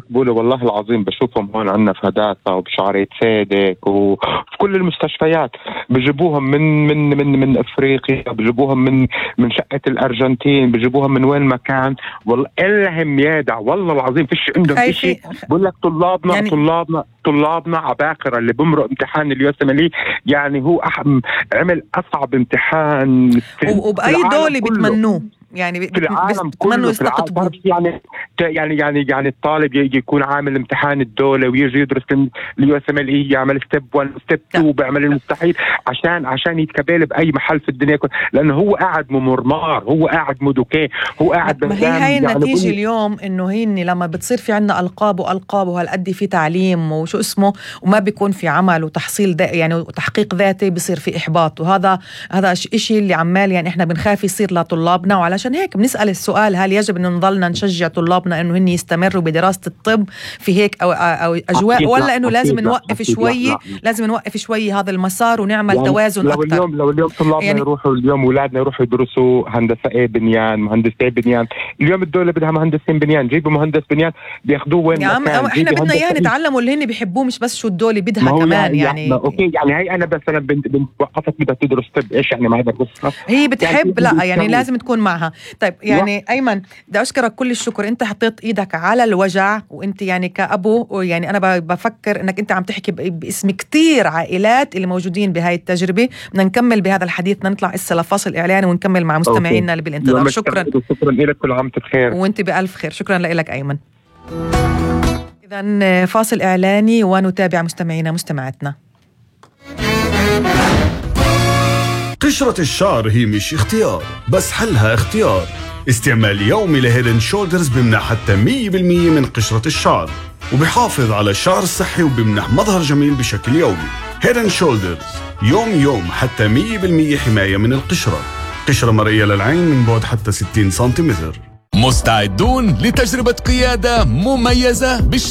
مقبولة والله العظيم. بشوفهم هون عنا في هداسة وبشعرية صادق وفي كل المستشفيات. بجيبوهم من أفريقيا، بجيبوهم من شقة الأرجنتين، بجيبوهم من وين ما كان. والله إلهم يادع والله العظيم فيش عندهم إشي. بقول لك طلابنا يعني طلابنا عباقرة. اللي بمرق امتحان اليوسملي يعني هو عمل أصعب امتحان وبأي دولة بتمنوه يعني في العالم كله. يعني الطالب يكون عامل امتحان الدولة ويجي يدرس اليوسملي، يعمل ستيب 1 ستيب 2، بيعمل المستحيل عشان يتقبل بأي محل في الدنيا لأنه هو قاعد ممرمار، هو قاعد مدوكي، هو قاعد. ما هي النتيجة اليوم إنه هيني لما بتصير في عنا ألقاب وهالقد في تعليم وشو اسمه وما بيكون في عمل وتحصيل يعني وتحقيق ذاتي، بيصير في إحباط. وهذا إشي اللي عمال يعني إحنا بنخاف يصير لطلابنا. وعلى عشان هيك بنسأل السؤال: هل يجب أن نضلنا نشجع طلابنا أنه هن يستمروا بدراسة الطب في هيك أو أجواء، ولا أنه لازم نوقف شوي؟ لازم نوقف شوي هذا المسار ونعمل يعني توازن أكثر. لو اليوم طلابنا يعني يروحوا، اليوم أولادنا يروحوا يدرسوا هندسة بنيان، مهندسة بنيان. اليوم الدولة بدها مهندسين بنيان، جيبوا مهندس بنيان بياخدوه وين ما كان. احنا بدنا اياه نتعلموا اللي هن بيحبوه، مش بس شو الدولة بدها كمان. يعني اوكي يعني هي انا بس انا بنت وقفت بدها تدرس طب، ايش يعني ما هذا قصة هي بتحب يعني لا يعني لازم تكون معها. طيب يعني أيمن بدي أشكرك كل الشكر. أنت حطيت إيدك على الوجع، وأنت يعني كأبو يعني أنا بفكر أنك أنت عم تحكي باسم كتير عائلات اللي موجودين بهاي التجربة. بدنا نكمل بهذا الحديث، بدنا نطلع إسا لفاصل إعلاني ونكمل مع مستمعينا اللي بالانتظار. شكرا لك، كل عام بخير وأنت بألف خير. شكرا لك أيمن. إذن فاصل إعلاني ونتابع مستمعينا مستمعاتنا. قشرة الشعر هي مش اختيار، بس حلها اختيار. استعمال يومي لهيد اند شولدرز بمنح حتى 100% من قشرة الشعر، وبحافظ على الشعر الصحي وبمنح مظهر جميل بشكل يومي. هيد اند شولدرز يوم حتى 100% حماية من القشرة. قشرة مرئية للعين من بعد حتى 60 سنتيمتر. مستعدون لتجربة قيادة مميزة بالشارع؟